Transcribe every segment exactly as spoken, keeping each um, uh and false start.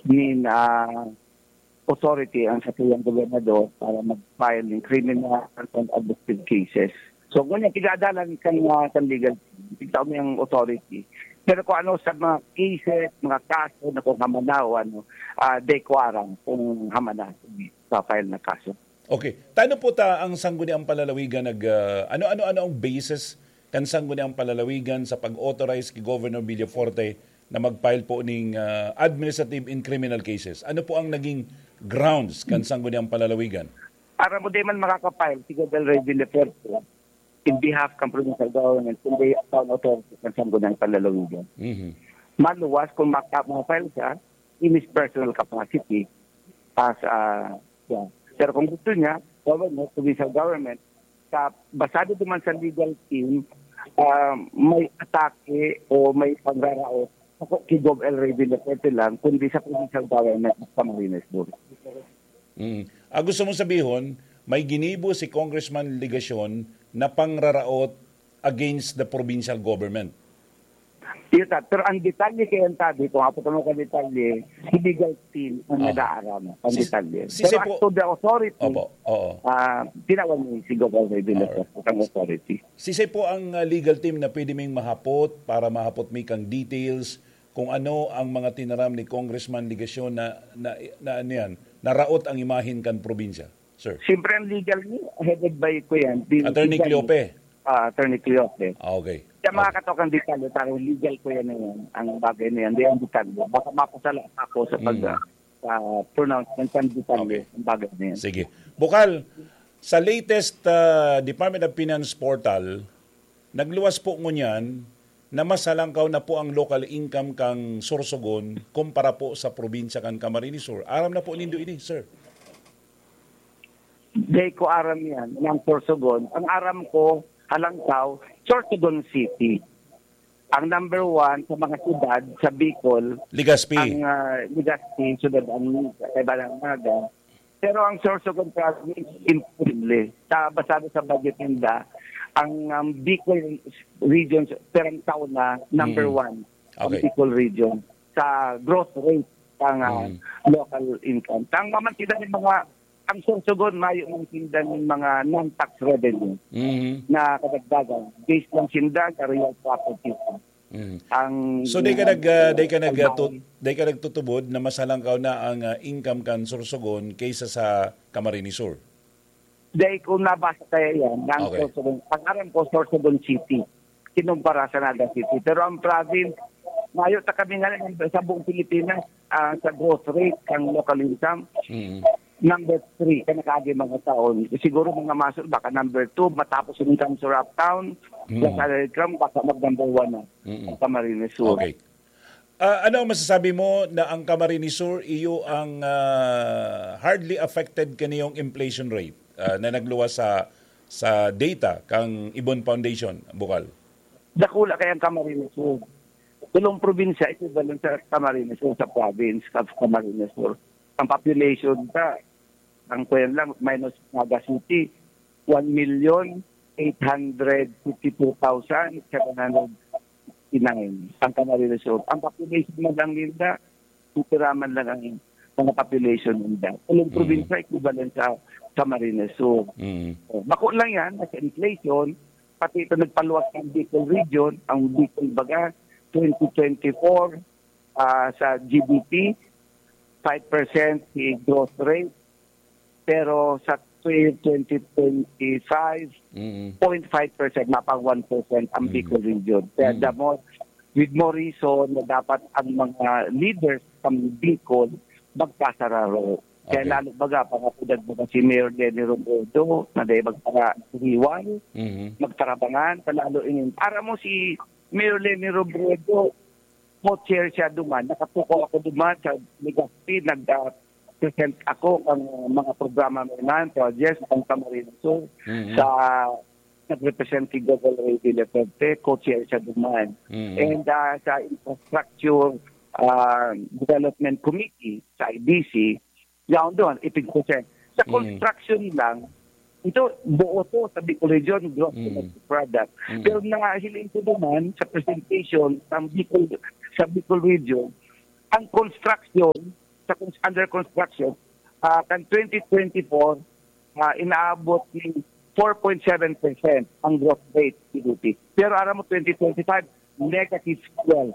nin, ah, authority ang satuyang gobernador para mag-file ng criminal and administrative cases. So, ngunyan, tigadalan kan, ah, kan legal, tigtao may ang authority. Pero kung ano sa mga cases, mga kaso na kung hamana o ano, ah, di ko aram kung hamana sa file na kaso. Okay. Tano po ta ang Sangguniang Palalawigan nag, ah, ano, ano, ano ang basis kan Sangguniang Palalawigan sa pag-authorize ki Governor Villafuerte na mag-file po ning, ah, administrative and criminal cases? Ano po ang naging grounds kan Sangguniang Palalawigan? Para mo di man makaka-file si Gov. El Rey Villafuerte in behalf kan provincial government, kundi ang authority kan Sangguniang Palalawigan. Mhm. Maluwas kung maka-, ma-file siya in his personal capacity as, ah, yeah. Pero kung gusto niya, government, provincial government, sa, basado naman sa legal team, ah, may atake o may pangraraot, ako ki Gov. El Rey Villafuerte lang, kundi sa provincial government sa Camarines Sur. Mm. Ah, gusto mong sabihon, may ginibo si Congressman Legacion na pangraraot against the provincial government? Yun, ta-, pero ang detalye kaya ang tabi, kung apo mo ka detalye, si legal team ang Ah. nag-aaram ang Si, detalye. si Pero Sepo as to the authority, Opo, oo. ah, tinawan ni si Gov. El Rey Villafuerte ang authority. Sisay po ang, ah, legal team na pwede ming mahapot para mahapot mi kang details kung ano ang mga tinaram ni Congressman Legacion na, na, na ano yan, naraot ang imahen kan probinsya, sir? Siyempre, ang legal ni, headed by ko yan, di Attorney legal. Cleope? Ah, Attorney Cleope. Ah, okay. Siya Okay. makakataw kang detalye, parang legal ko yan, yan, ang bagay na yan, di ang detalye. Baka mapasala ako sa pag, Mm. ah, sa pronouncement ng detalye, Okay. ang bagay na yan. Sige. Bukal, sa latest, ah, Department of Finance portal, nagluwas po ngunyan na mas halangkaw na po ang local income kang Sorsogon kumpara po sa probinsya kan Camarines Sur. Aram na po nindo ini, sir? Di ko aram yan, ng Sorsogon. Ang aram ko, halangkaw, Sorsogon City. Ang number one sa mga syudad sa Bicol, Legazpi. Ang, ah, Legazpi, syudad ang kaiba ng Naga. Pero ang Sorsogon province, imposible. Sa, basado sa budget ninda, ang, ang Bicol region, perang taon na, number Mm. one ang Okay. Bicol region sa growth rate ng, ah, Mm. local income. Ang mamantidan ng mga, ang Sorsogon, mayo ng tinda ng mga non-tax revenue Mhm. na kadagdagan. Based lang sinda sa real property. Mm. Ang, So, di ka nag, ah, di ka nag, ang ah, tu-, di ka nagtutubod na mas halangkaw na ang, ah, income kan Sorsogon kaysa sa Camarines Sur? Dahil kung nabasa kaya yan, ng Okay. Sorsogon, ang aram ko, Sorsogon City, kinumpara sa Naga City. Pero ang province, mayo ta kami nga lang sa buong Pilipinas, ah, sa growth rate, ang local income, Mm. number three, ka nakaagi mga taon. Siguro mga masol, baka number two, matapos yung income sa Uptown, Mm. sa salary income, baka mag number one na Mm. ang Camarines Sur. Okay. Ah, ano ang masasabi mo na ang Camarines Sur, iyo ang, ah, hardly affected kaniyong inflation rate, ah, na nagluwas sa, sa data kang Ibon Foundation, Bukal? Dakula kaya ang Camarines Sur. Tulong probinsya, equivalent sa Camarines Sur, sa province of Camarines Sur. Ang population ka, ang kuyan lang, minus Naga City, one million eight hundred fifty-two thousand seven hundred fifty-nine ang Camarines Sur. Ang population man lang nila, titira man lang ang mga population nila. Tulong Mm. probinsya, equivalent sa Camarines Sur. Mm. Oh, bako lang yan, sa inflation, pati ito nagpaluwas ng Bicol region, ang Bicol baga, twenty twenty-four, ah, sa G D P, five percent si growth rate, pero sa year twenty twenty-five, Mm. point five percent, mapang one percent ang Mm. Bicol region. Kaya Mm. the more, with more reason na dapat ang mga leaders ng Bicol magkasararo. Kaya Okay. lalo baga, pangapudan mo si Mayor Leni Robredo, na dahil magpara-, hiwal, Mhm. magtarabangan, palalo inin. Para mo si Mayor Leni Robredo, co-chair siya duman, nakatukaw ako duman sa Legazpi, nag, ah, present ako ang mga programa mo na, projects, ang Camarines Sur, Mhm. sa nag-represent si Gov. El Rey Villafuerte, co-chair siya duman. Mhm. And, ah, sa Infrastructure, ah, Development Committee, sa I D C, yaon doon, eighteen percent. Sa Mm. construction lang, ito, buo to sa Bicol Region, gross Mm. domestic product. Mm. Pero nahiling ko naman sa presentation sa Bicol, sa Bicol Region, Ang construction, sa cons-, under construction, ah, kan twenty twenty-four, ah, inaabot ni four point seven percent ang growth rate ni P D P. Pero aram mo, twenty twenty-five, negative twelve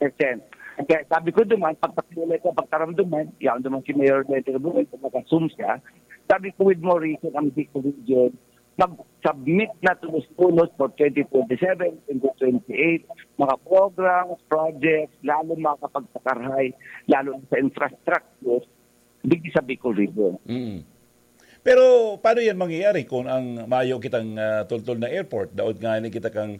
percent. Kaya sabi ko duman, pagpakilala ko, pagtaramduman, yan duman si Mayor Lentero Buhay, pagka-Zoom siya, sabi ko, with more reason, ang Bicol Region, mag-submit na tulos-tulos for twenty twenty-seven, twenty twenty-eight, mga programs, projects, lalo makakapagpakarhay, lalo na sa infrastructure, digdi sa Bicol Region. Mm. Pero paano yan mangyayari kung ang mayo kitang ah, tultol na airport? Daot nga ni kita kang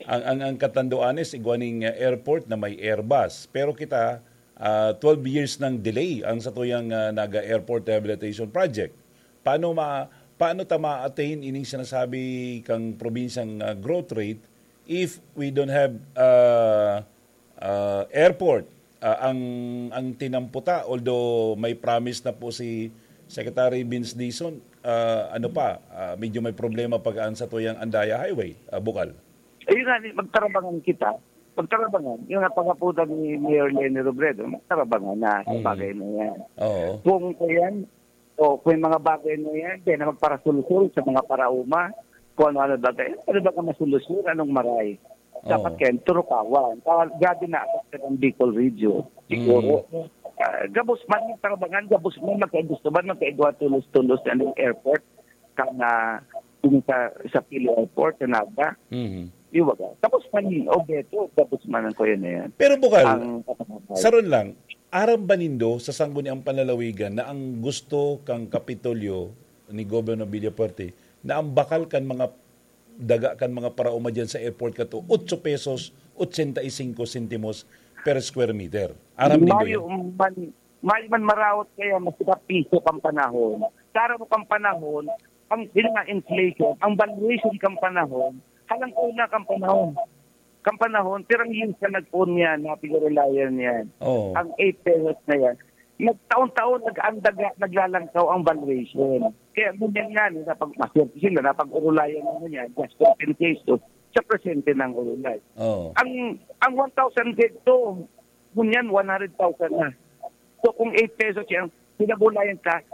ang ang ang Catanduanes, igwa ning ah, airport na may Airbus. Pero kita ah, twelve years ng delay ang satuyang ah, Naga Airport Rehabilitation Project. Paano ma paano ta ma-attain ining sinasabi kang probinsyang ah, growth rate if we don't have ah, ah, airport? Ah, ang ang tinamputa, although may promise na po si Secretary Vince Dizon, ah, ano pa, ah, medyo may problema pag ang satuyang Andaya Highway, ah, Bukal. Ayun nga, ni- magtarabangan kita. Magtarabangan. Yung napangaputan ni Mayor Leni Robredo, magtarabangan na sa Mm. bagay na yan. Oo. Kung yan, o kung yung mga bagay na yan, kaya na magparasulsul sa mga parauma, kung ano-ano bagay, ano ba ka masolusyon, anong maray? Dapat Oo. kayo, turukawan. Kaya grabe na affected ang Bicol Region, siguro. Ah, gabos man yung tarabangan, gabos man, magkagusto man, magkaigwa tulos-tulos na ng airport, ka na yung sa, sa Pili Airport, sa Naga. Mhm. Iwaga. Tapos man, o beto, tapos man ang kuya na yan. Pero Bukal, Ang kapatid. saron lang, aram ba nindo sa sangguniang panlalawigan na ang gusto kang Kapitolyo ni Governor Villafuerte na ang bakal kan mga daga kan mga parauma dyan sa airport kato, otso pesos, ochenta y cinco sentimos per square meter? Aram nindo Mayo yan? man, mayo man maraot kaya mas piso kang panahon. Tara mo kang panahon, ang yun nga inflation, ang valuation kang panahon, halang una kang panahon. Kang panahon, pirang years na nag-own yan, na pinarelayan yan. Oo. Ang eight pesos na yan. Nagtaon-taon, nag-andaga, naglalangkaw ang valuation. Kaya ganyan nga, no, napag, maswerte sila, napag-urulayan naman yan, just compensation sa presente ng urulay. Oo. Ang ang one thousand dito, ngunyan one hundred thousand na. So kung eight pesos yan, pinagulayan ka,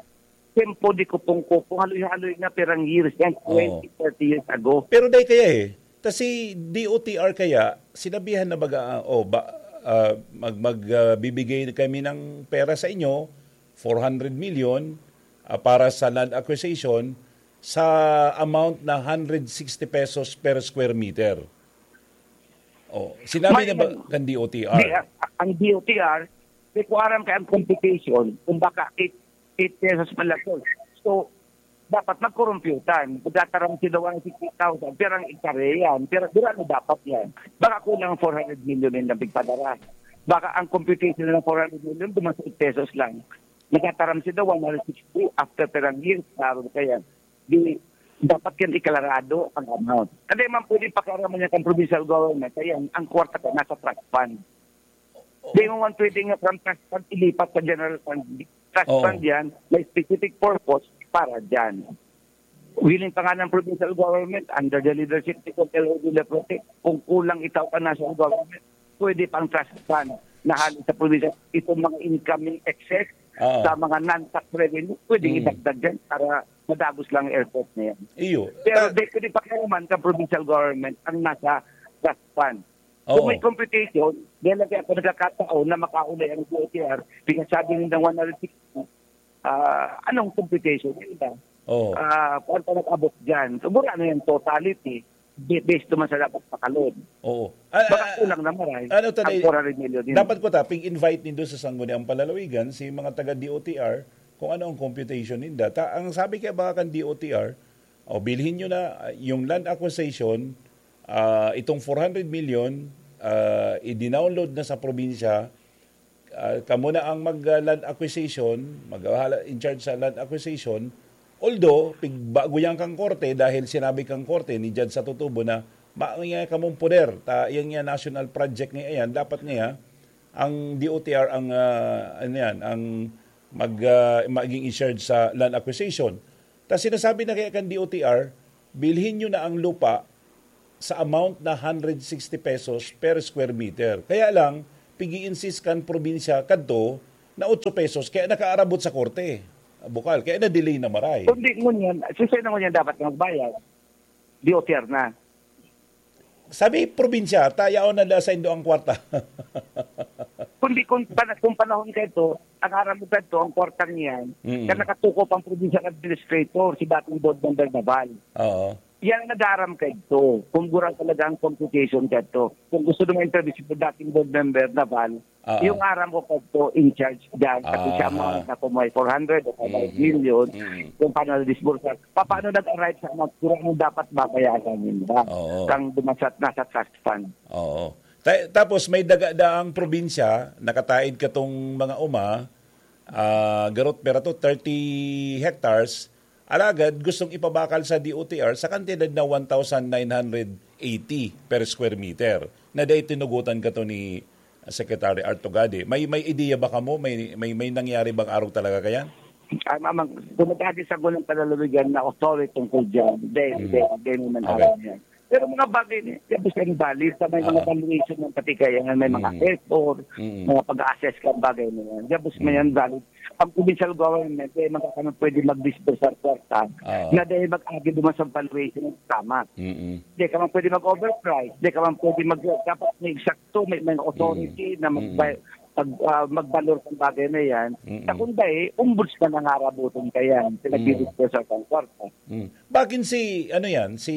tempo di kupong-kupong, haloy-haloy na perang years yan, Oo. twenty, thirty years ago. Pero dai kaya eh. Kasi D O T R kaya, sinabihan na baga, ah, oh, ba, ah, mag, mag, ah, bibigay kami ng pera sa inyo, four hundred million, ah, para sa land acquisition, sa amount na hundred sixty pesos per square meter. Oh, sinabi May- na ba kan D O T R? Di, ah, ang D O T R, di ko aram kaya ang computation kung baka eight, eight pesos man lang. So, dapat magkorumpyutan. Magtataram sila one sixty thousand, pero ang ektarya yan, pero, pero ano dapat yan? Baka kulang four hundred million yung nabigpadara. Baka ang computation ng four hundred million, duman sa eight pesos lang. Nagtataram sila one hundred sixty after perang years, klaro na kaya. Di, dapat yan iklarado ang amount. Hindi man pwede pakiaraman niya kang provincial government, kaya ang, ang kwarta ka nasa trust fund. Di mo man pwede nga from trust fund ilipat sa general fund. Trust Oo. Fund yan, may specific purpose para dyan. Willing pa nga ng provincial government under the leadership ni Contel Odile Prote, kung kulang itaw ka national government, pwede pang trust fund na hali sa provincial, itong mga incoming excess Oo. sa mga non-tax revenue, pwede Mm. idagdag dyan para madagos lang ang airport na yan. Iyo. Pero Ta- di ko di pakialaman ka provincial government ang nasa trust fund. Oo. Kung may computation, dahil lagi ako nagkakataon na makaulay ang D O T R, pinasabi nila one hundred sixty, ah, anong computation? Yun ba? Oo. Ah, kung pa nag-abot dyan? So, mura na yung totality, ba- based naman sa dapat pakalod. Oo. Ah, Baka ah, kulang na maray. Ano to, Ang Nay? four hundred million yun. Dapat ko ta, pig-invite nindo sa Sangguniang Panlalawigan, si mga taga D O T R, kung ano ang computation ninda. Ta, ang sabi kaya baka kan D O T R, o bilhin nyo na ah, yung land acquisition, ah, itong four hundred million, ah, i-download na sa probinsya, ah, kamo na ang mag ah, land acquisition, mag ah, in charge sa land acquisition. Although, pig, bago yan kang korte, dahil sinabi kang korte ni Judge Satutubo na maangya kamong poder, ta, yan nga national project nga yan, dapat nga ang D O T R ang, ah, ano yan, ang mag, ah, maging in charge sa land acquisition. Ta sinasabi na kaya kan D O T R, bilhin nyo na ang lupa sa amount na hundred sixty pesos per square meter. Kaya lang, pigi-insist kan probinsya kadto na otso pesos, kaya nakaarabot sa korte, Bukal, kaya na-delay na maray. Kundi ngunyan, siya na ngunyan dapat na magbayad. D O T R na. Sabi, probinsya, ta yaon na da saindo ang kwarta. Kundi kung, pana- kung panahon ka ito, ang aram mo ka ito, ang kwartang yan, Mm. Kaya nakatuko pang provincial administrator, si dating board member Naval. Oo. Yan ang nag-aaram ka ito. Kung gurang talaga ang computation ka ito. Kung gusto mo interview si dating board member Naval, Ah. yung aram ko ka ito in charge dyan. Kasi siya Aha. Amount na kung may four hundred o kung may Mhm. million, Mhm. kung paano na-disburse. Pa-, paano nag-arrive sa amount? Gurang ang dapat babayaran nila. Oo. Kang dumasat nasa trust fund. Oo. Ta- tapos may daga-daang probinsya, nakataid katong mga uma, ah, garot pera to, thirty hectares, alagad gustong ipabakal sa D O T R sa kantidad na one thousand nine hundred eighty per square meter, na dai tinugutan kato ni Secretary Art Tugade. May, may ideya ba kamo? May, may, may nangyari bang arog talaga kayan? Ah, mamang, kung nagkadi sa gunang palalawigan na authority tungkol dyan, then, Mm. then, then naman Okay. Alam yan. Pero mga bagay na yan, gabos yan valid sa may mga Ah. Valuation ng pati kaya nga may mga Mm. Effort, Mm. mga pag-assess ka bagay na yan. Gabos na Mm. yan valid. Ang provincial government, eh, magkakaroon pwede mag-disburse ng kwarta Ah. na dahil mag-agi duman sa valuation ng tama. Mm-mm. Di ka man pwede mag-overprice, di ka man pwede mag-, dapat may eksakto, may, may authority Mm. na mag-, Mm. mag-, ah, magbalor sa bagay na yan. Mm-mm. Sa kung dahil, ombudsman ang harabutan ka yan, Mm. pinag-disburse ng kwarta. Mm. Bakit si, ano yan, si,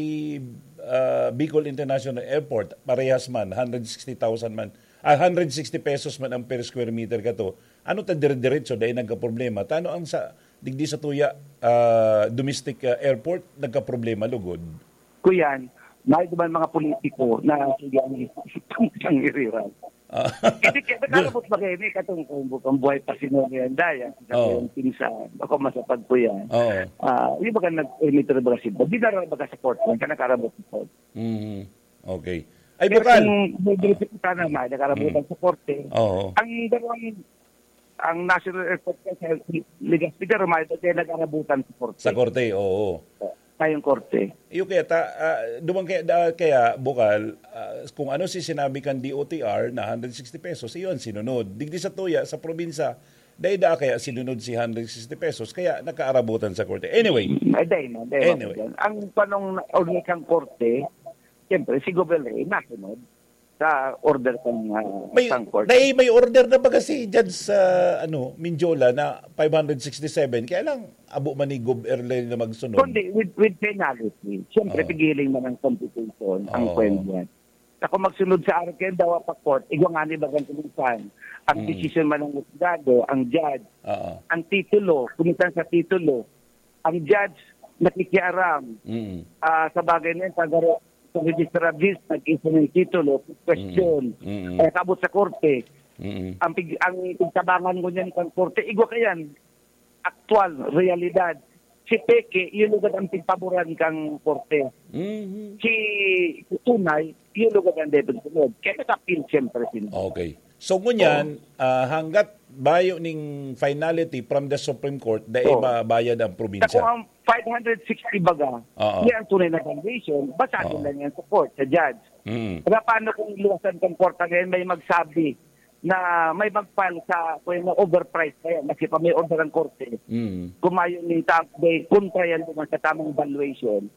ah, Bicol International Airport, parehas man, hundred sixty thousand man, ah, hundred sixty pesos man ang per square meter kato. Ano ta dire-diretso, dahil nagkaproblema? Tano ang sa, digdi sa tuya, ah, domestic, ah, airport, nagkaproblema, lugod? Kuyan, may duman mga politiko na sige ang, ang iriran. Ah. Hindi, kaya nakarabot ba kayo, may katong kung, kung buhay pa si Norian Daya, sa Oo. kayong pinsan, ako masapag ko yan. Oo. Ah, yung baga nag-emit rin baga sila, di na rin baga sa court, kaya nakarabot sa court. Mhm. Okay. Ay, Pero Bukal. kung may Ah. direkta na, may nakarabutan Mm. sa korte. Oo. Ang dalawang, ang National Airport kasi, Legazpi, pero may kaya nag-arabutan sa korte. Sa korte, oo. Tayong korte. Yung kaya, ta, ah, dumang kaya, da, kaya, Bukal, ah, kung ano si sinabi kan D O T R na hundred sixty pesos, iyon, sinunod. Digdi sa tuya, sa probinsya, dahil da kaya sinunod si hundred sixty pesos, kaya nakaarabutan sa korte. Anyway. Ay, dahil na, dahil Anyway. na. Ang panong na-, order kang korte, siyempre, si Gobel Rey, nasunod sa order kang, ah, May, kang korte. dahil may order na baga si Judge, ah, ano, Minjola na five hundred sixty-seven. Kaya lang, abo man ni Gob Erlel na magsunod. Kundi with, with penalty. Siyempre, Oo. pigiling man ang computation, ang Oo. kwan yan. Sa kung magsunod sa akin, dawa pa court, igwa nga ni bagang kuminsan. Ang Mm. decision man ng husgado, ang judge, Oo. ang titulo, kuminsan sa titulo, ang judge nakikiaram, Mm. ah, sa bagay na yun, pag, sa registrar of deeds, nag-issue ng titulo, question, Mm. Mm. eh, kabot sa korte. Mm. Ang pig-, ang pigtabangan ko niyan sa korte, igwa ka yan, aktual, realidad. Si peke, yun lugad ang pigpaboran kang korte. Mm. Si tunay, yun lugad ang dapat sunod. Kaya nag-appeal siyempre sila. Okay. So, ngunyan, Oo. ah, hanggat bayo ning finality from the Supreme Court, dai Oo. mabayad ang probinsya. Sa kung ang five hundred sixty baga, Oo. yan ang tunay na valuation, basahin Oo. lang yan sa court, sa judge. Mm. Kaya paano kung luwasan kang korte ngayon, may magsabi na may mag-file sa, kung yung overpriced na yan, kasi pa may order ang korte, Mm. kung mayo ni ta-, may kontra yan naman sa tamang valuation,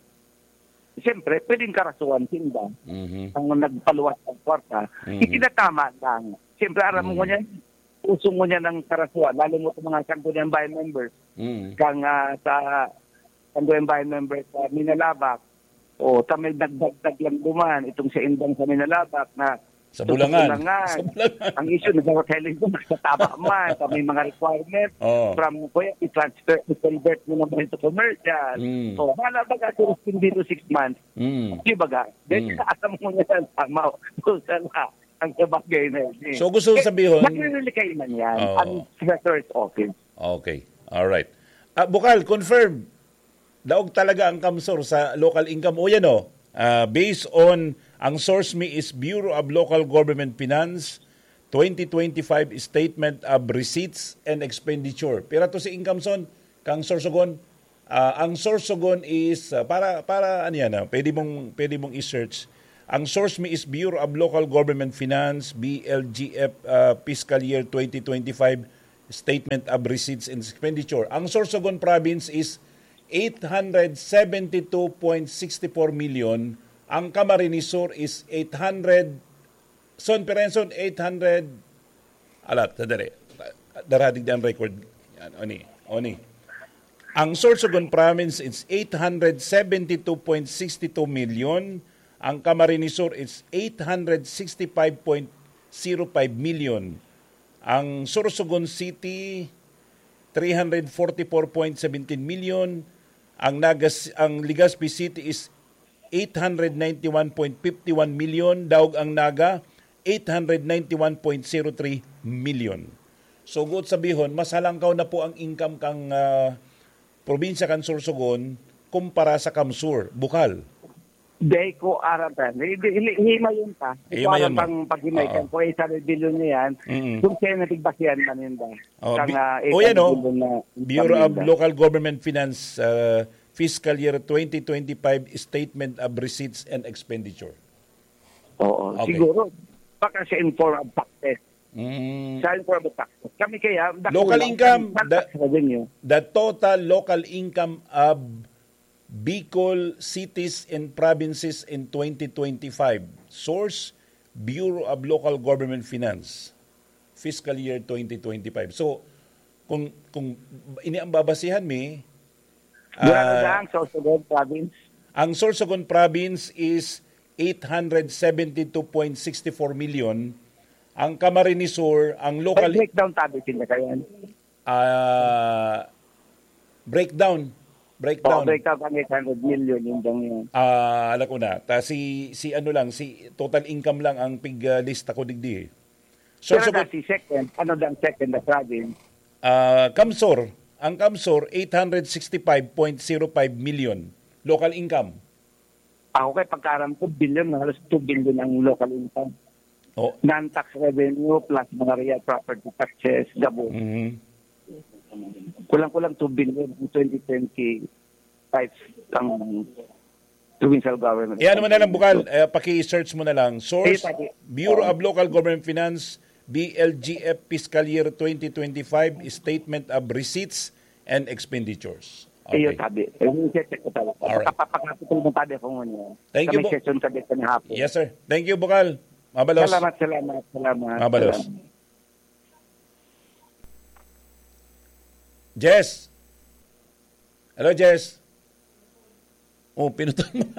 siyempre, pwedeng karasuhan sinda Mhm. ang nagpaluwas ng kwarta. Mhm. Itinatama lang. Siyempre, aram mo Mhm. ngunyan, uso ngunyan ang karasuhan, lalo mo sa mga Sangguniang Bayan members, Mhm. kang, ah, sa Sangguniang Bayan members sa Minalabac, o, ta may nagdagdag lang duman, itong sa Indang sa Minalabac na Sa itong Bulangan. Bulangan. Sa Bulangan. Ang issue, nagkakailing ko, nasa tama man, sa may mga requirement, Oo. from, kuya, i-transfer, i-convert mo naman ito commercial. Mm. So, wala ba ka, siguro, hindi to six months? Mm. Di ba, ga? Then, Mm. alam mo nga yan, tama, doon sa la-, ang sa bagay na yun, eh. So, gusto Eh, sabihon, nagre-rely kayo man yan, Oo. ang treasurer's office. Okay. All right. Ah, Bukal, confirm. Daog talaga ang CamSur sa local income. O, yan, o. Ah, based on, ang source mi is Bureau of Local Government Finance, twenty twenty-five Statement of Receipts and Expenditure. Pira to si income, son? Kang Sorsogon? Ah, ang Sorsogon is, ah, para, para, ano yan, ah, pwede mong, pwede mong i-search. Ang source mi is Bureau of Local Government Finance, B L G F, ah, fiscal year twenty twenty-five statement of receipts and expenditure. Ang Sorsogon province is eight hundred seventy-two point six four million. Ang Camarines Sur is eight hundred, son, Perenson, eight hundred, alat, sadali. Daradig ang record. Yan, oni, oni. Ang Sorsogon province is eight hundred seventy-two point six two million. Ang Camarines Sur is eight hundred sixty-five point zero five million. Ang Sorsogon City, three hundred forty-four point seventeen million. Ang Nagas, ang Legazpi City is eight hundred ninety-one point fifty-one million. Daog ang Naga, eight hundred ninety-one point zero three million. So, guot sabihon, mas halangkaw na po ang income kang, ah, probinsya kan Sorsogon kumpara sa Kamsur, Bukal. Dai ko aram pa. Hi-, hi-, hi-, himayon pa. Di ko Himayon aram mo. pang paghimay Oo. kan kung isa na bilyon niya yan. Mm. Kung siya na tigbasihan man yun ba? Oh, Kang, bi-, ah, oh, yan, isa oh. bilyon na Bureau of income yun ba? Local Government Finance, ah, fiscal year twenty twenty-five statement of receipts and expenditure. Oo, Okay. siguro. Baka siya in form of taxes. Mm. Siya in form of taxes. Kami kaya, dako Local lang. income, Ang the, tax revenue. the total local income of Bicol cities and provinces in twenty twenty-five. Source, Bureau of Local Government Finance, fiscal year twenty twenty-five. So, kung, kung ini ang babasihan mi, Mura na ah, lang sa Sorsogon province. ang Sorsogon province is eight hundred seventy-two point six four million. Ang Camarines Sur, ang May local, breakdown tabi sila kaya. ah, breakdown. Breakdown. Oh, breakdown ang eight hundred million, yung bang yun. Ah, alam ko na. Ta si, si ano lang, si total income lang ang pig, ah, lista ko digdi eh. So, Pero so, na si second, ano lang second na province? Ah, Kamsur, ang Kamsur, eight hundred sixty-five point zero five million local income. Ako kay pagkaaram ko, billion, halos two billion ang local income. Oh. Non-tax revenue plus mga real property taxes, gabo. Mhm. Kulang-kulang two billion in twenty twenty-five ang provincial government. Eh, ano man na lang, Bukal, eh, paki-search mo na lang. Source, Ayun, paki- Bureau Oo. of Local Government Finance, B L G F Fiscal Year twenty twenty-five Statement of Receipts and Expenditures. Iyo, Okay. tabi. Eh, yung check ko talaga. Alright. Kapapagkapit mo tabi kung ano. Thank you, Kami Bu-, session tabi sa hapon. Yes, sir. Thank you, Bukal. Mabalos. Salamat, salamat, salamat. Mabalos. Salamat. Jess. Hello, Jess. Oh, pinutol mo.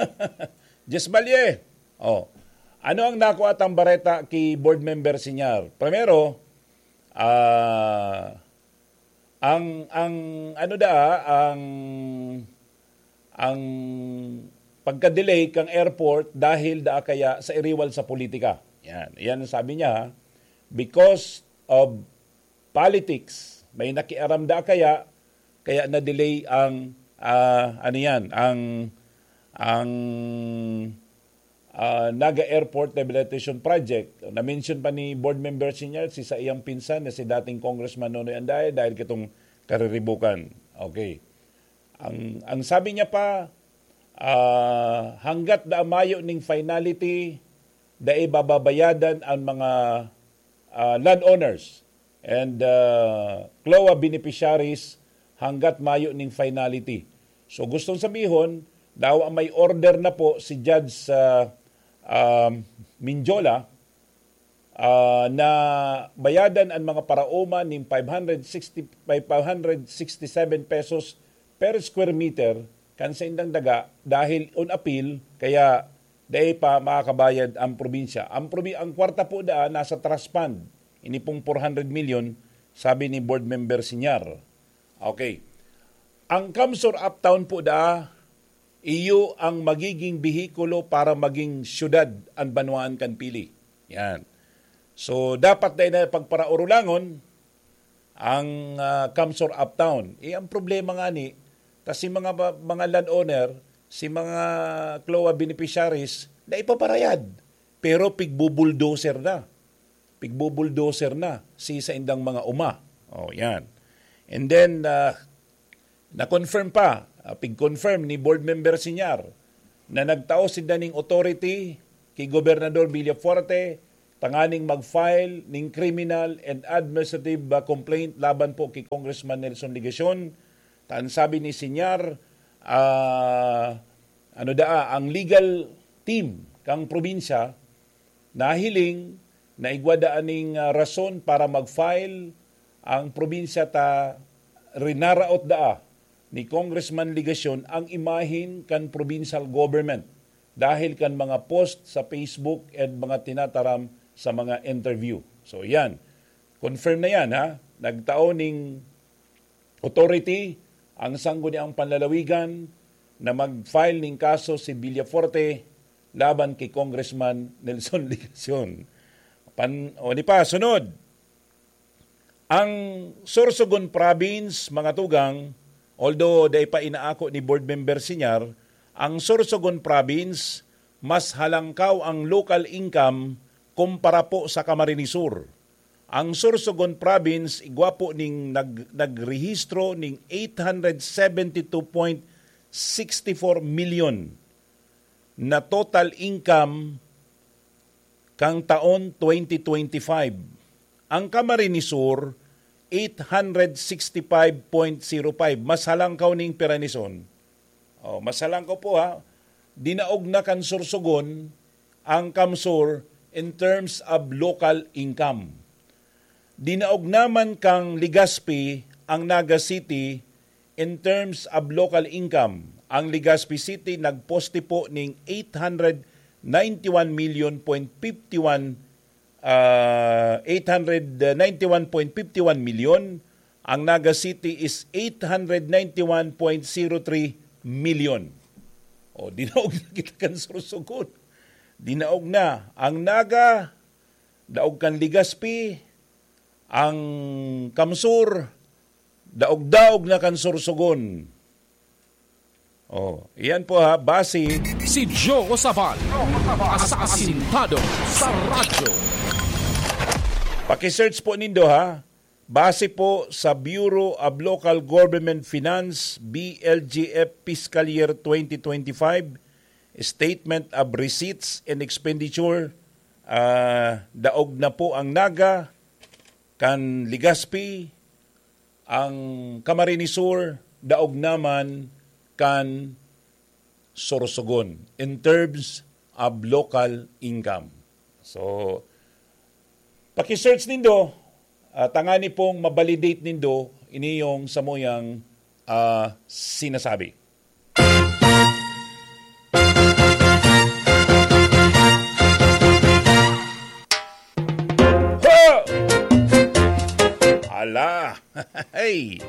Jess Balye. Oh. Ano ang nakuha tang bareta ki board member Sinyar? Primero, ah, ang, ang, ano da, ang, ang pagka-delay kang airport dahil da kaya sa iriwal sa politika. Yan. Yan ang sabi niya, ha? Because of politics, may nakiaram da kaya, kaya na-delay ang, ah, ano yan, ang, ang, ah, Naga Airport Rehabilitation Project. Na-mention pa ni Board Member Senior, si sa iyang pinsan na si dating Congressman Nonoy Andaye dahil kitong kariribukan. Okay. Ang, ang sabi niya pa, ah, hanggat da mayo ning finality, dai bababayadan ang mga, ah, landowners and, ah, CLOA beneficiaries hanggat mayo ning finality. So, gustong sabihon, daw ang may order na po si Judge, ah, um, Minjola, ah, na bayadan an mga paraoma nin five hundred sixty, by five hundred sixty-seven pesos per square meter kan saindang daga dahil on appeal, kaya dai pa makakabayad ang probinsya. Ang probi-, ang kwarta po daan nasa trust fund. Ini pong four hundred million, sabi ni Board Member Sinyar. Okay. Ang Kamsur Uptown po da, iyo ang magiging behikulo para maging syudad an banwaan kan Pili. Yan. So, dapat dai na pagparaurulangon ang, ah, Kamsur Uptown. Eh, ang problema nga ni, ta si mga ba-, mga landowner, si mga CLOA beneficiaries, na ipaparayad. Pero pigbubulldozer na. Pigbubulldozer na si saindang mga uma. Oh, yan. And then, ah, na-confirm pa, ah, pig-confirm ni Board Member Sinyar na nagtao sinda ning authority ki Gobernador Villafuerte tanganing mag-file ning criminal and administrative, ah, complaint laban po ki Congressman Nelson Legacion. Ta an sabi ni Señor, ah, ano daa, ang legal team kang probinsya nahiling na igwa daa ning, ah, rason para mag-file ang probinsya ta rinaraot daa ni Congressman Legacion ang imahen kan provincial government dahil kan mga post sa Facebook and mga tinataram sa mga interview. So, yan. Confirm na yan, ha? Nagtao ning authority ang Sangguniang Panlalawigan na mag-file ning kaso si Villafuerte laban ki Congressman Nelson Legacion. Pan-, o, di pa, sunod. Ang Sorsogon Province, mga tugang, although dai pa inaako ni Board Member Señor, ang Sorsogon Province, mas halangkaw ang local income kumpara po sa Camarines Sur. Ang Sorsogon Province, igwa po ning nag-, nagrehistro ning eight hundred seventy two point sixty four million na total income kang taon twenty twenty-five. Ang Camarines Sur, eight hundred sixty five point zero five. Mas halangkaw ning piranison. Oh, mas halangkaw po, ha. Dinaog na kan Sorsogon ang CamSur in terms of local income. Dinaog naman kang Legazpi ang Naga City in terms of local income. Ang Legazpi City nagposte po ning eight hundred ninety one million point fifty one, ah, eight hundred ninety one point fifty one million. Ang Naga City is eight hundred ninety one point zero three million. O, dinaog na kita kan Sorsogon. Dinaog na. Ang Naga, daog kan Legazpi, ang CamSur, daog-daog na kan Sorsogon. Oh, iyan po ha, base. Si Joe Sabal, asasintado sa radyo. Paki-search po nindo ha. Base po sa Bureau of Local Government Finance, B L G F Fiscal Year twenty twenty-five, Statement of Receipts and Expenditure, ah, daog na po ang Naga, kan Legazpi, ang Camarines Sur, daog naman kan Sorsogon in terms of local income. So, paki-search nindo, ah, tangani pong ma-validate nindo ini yung samuyang, ah, sinasabi. Ha! Ala! Hey!